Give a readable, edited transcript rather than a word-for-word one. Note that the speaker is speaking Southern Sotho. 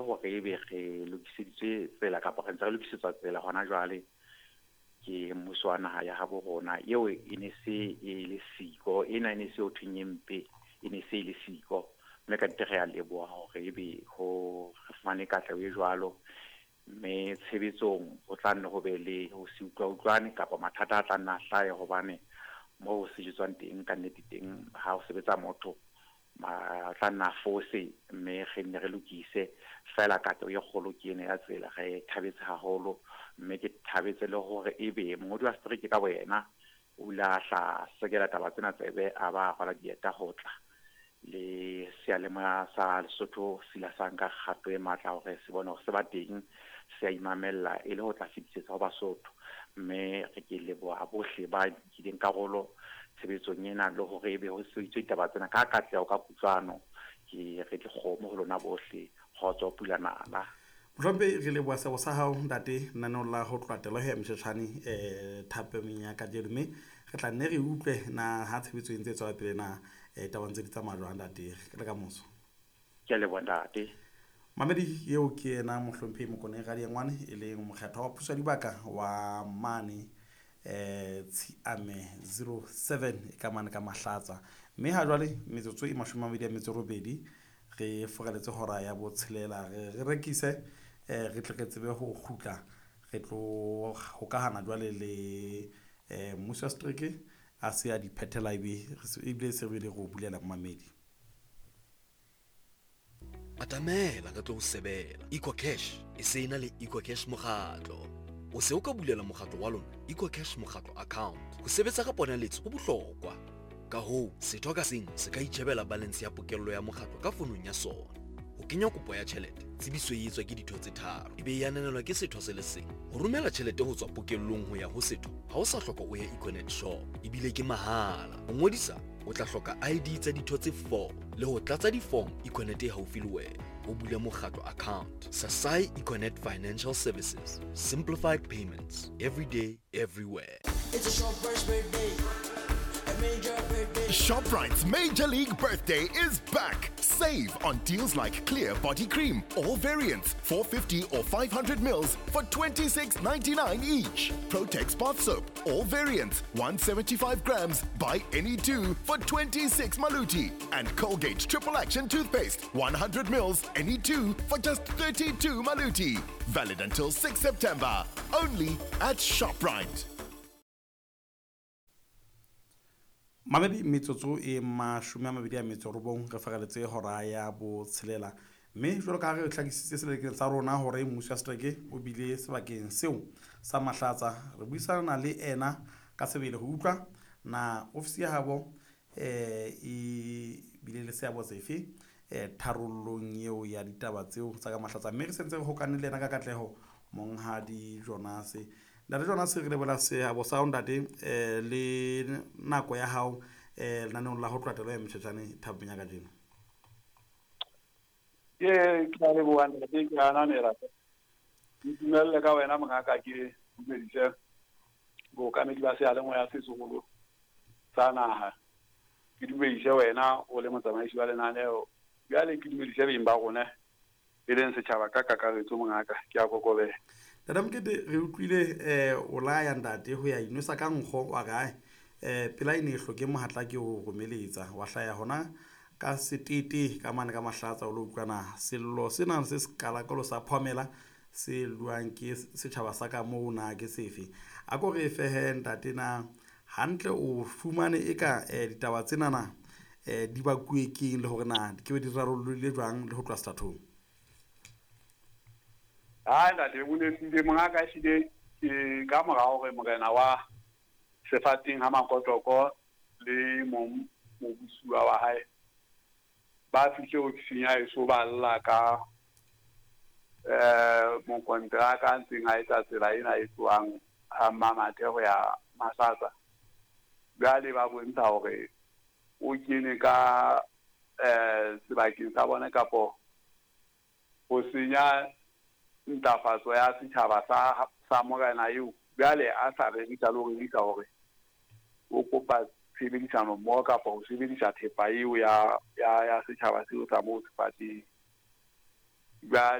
hore ebe re lokiseditswe tsela kapa re ntse re lokisetswa tsela hona jwale ke mmuso wa naha ya habo rona. Eo e ne se e le siko, ena e ne se ho thweng e mpe, e ne se e le siko. Mme ka nnete re a leboha hore ebe ho re fumane katleho e jwalo. Mme tshebetsong ho tla nne ho be le ho se utlwa-utlwane kapa mathata a tla nna a hlahe hobane moo ho sejetswang teng ka nnete teng ha ho sebetsa motho ma tla nna fose mme re nne re lokise. Feela katleho e kgolo ke ena ya tsela, re thabetse haholo. Mme ke thabetse le hore ebe mongodi wa setereke ka boyena o ile a hla sekela taba tsena tsebe, a ba rwala dieta ho tla le seyalemoya sa Lesotho se ile sa nka kgato e matla hore se bone hore se ba teng, se a imamella e le ho tla fetisetsa ho Basotho. Mme re ke leboha bohle ba nkileng karolo tshebetsong ena le hore ebe ho sebeditswe ditaba tsena ka katleho, ka kutlwano. Ke re dikgomo ho lona bohle, kgotso pula nala. Mohlomphehi, re leboha seabo sa hao ntate lenaneong la ho tloha telo ya motjhetjhane thapameng ya kajeno, mme re tla nne re utlwe na ha tshebetso e ntse e tswela pele na taba ntse di tsamaya jwang ntate. Le ka moso. Ke a leboha ntate. Mamedi eo ke yena mohlomphehi Mokoneng Radiengwane, e leng mokgethwa wa puso ya dibaka wa mane Tshiame 07 e ka mane ka Mahlatsa. Mme ha jwale metsotso e 28 re foraletse hora ya botshelela, re re rekise re tle re tsebe ho kgutla re tlo hokahana jwale le mmuso wa setereke a se a di phethela ebile se re bile re o bulela momamedi. Atamela re tlo o sebela. EcoCash e se e na le EcoCash mokgatlo. O se o ka bulela mokgatlo wa lona EcoCash mokgatlo account. Ho sebetsa ka ponaletso ho bohlokwa. Ka hoo, setho ka seng se ka itjhebela balance ya pokello ya mokgatlo ka fonong ya sona. Ho kenya kopo ya tjhelete, tsebiso e etswa ke ditho tse tharo, e be e ananelwa ke setho se le seng. Ho romela tjhelete ho tswa pokellong ho ya ho setho, ha o sa hloka o ye Econet shop, ebile ke mahala. Ho ngodisa, o tla hloka ID tsa ditho tse 4 le ho tlatsa di-form Econet e haufi le wena. O bule mokgatlo account. Sasai Econet Financial Services. Simplified payments. Every day, everywhere. It's a shopper's birthday. A major birthday. ShopRite's Major League Birthday is back. Save on deals like Clear Body Cream, all variants, 450 or 500 mils for $26.99 each. Protex Bath Soap, all variants, 175 grams, buy any two for 26 maluti. And Colgate Triple Action Toothpaste, 100 mils, any two for just 32 maluti. Valid until 6 September. Only at ShopRite. Mamedi metsotso e 29 re fereletse hora ya botshelela, mme jwalo ka ha re hlakisitse selekeng sa rona hore mmuso wa setereke o bile sebakeng seo sa Mahlatsa, re buisana le ena ka sebele ho utlwa na ofisi ya habo e bile le seabo sefe tharollong eo ya ditaba tseo tsa ka Mahlatsa. Mme re sentse re hokane le ena ka katleho monghadi Jonas. Ntate Jonas, re leboha seabo sa hao ntate le nako ya hao lenaneong la ho tloha telo ya motjhetjhane thapong ya kajeno. Ke a leboha ntate, ke ananela. Ntumelle ka wena mongaka ke dumedise bookamedi ba seyalemoya se seholo sa naha. Ke dumedise wena o le motsamaisi wa lenaneo. Bjale ke dumedise beng ba rona e leng setjhaba ka kakaretso mongaka, ke a kokobela. Ntate Mokete, re utlwile o laya ntate ho ya inwesa ka nkgo wa re pela e ne e hloke mohatla ke o romeletsa, wa hlaya hona ka setete ka mane ka Mahlatsa o lo utlwana sello sena se sekalakalo sa phomela se luang ke setjhaba sa ka moo na ke sefe. A ko re fehe ntate na hantle o fumane e ka ditaba tsena na di bakuwe keng le hore na di ke be di rarollile jwang le ho tloha sethathong. Hai ntate, o nepile mongaka, ehlile ke ka mora hore morena wa sefateng ha Makotoko le mong mobusuwa wa hae ba fihle ofising ya heso ba lla ka mokonteraka a ntseng a etsa tsela ena e tlohang ha Mmamathe ho ya Mahlatsa. Jwale ba bontsha hore o kene ka sebakeng sa bona kapo ho senya ntlafatso ya setjhaba sa morena eo. Jwale a sa rerisa le ho rerisa hore o kopa tshebedisano mmoho kapa ho sebedisa thepa eo ya setjhaba seo sa moo sefateng. Jwale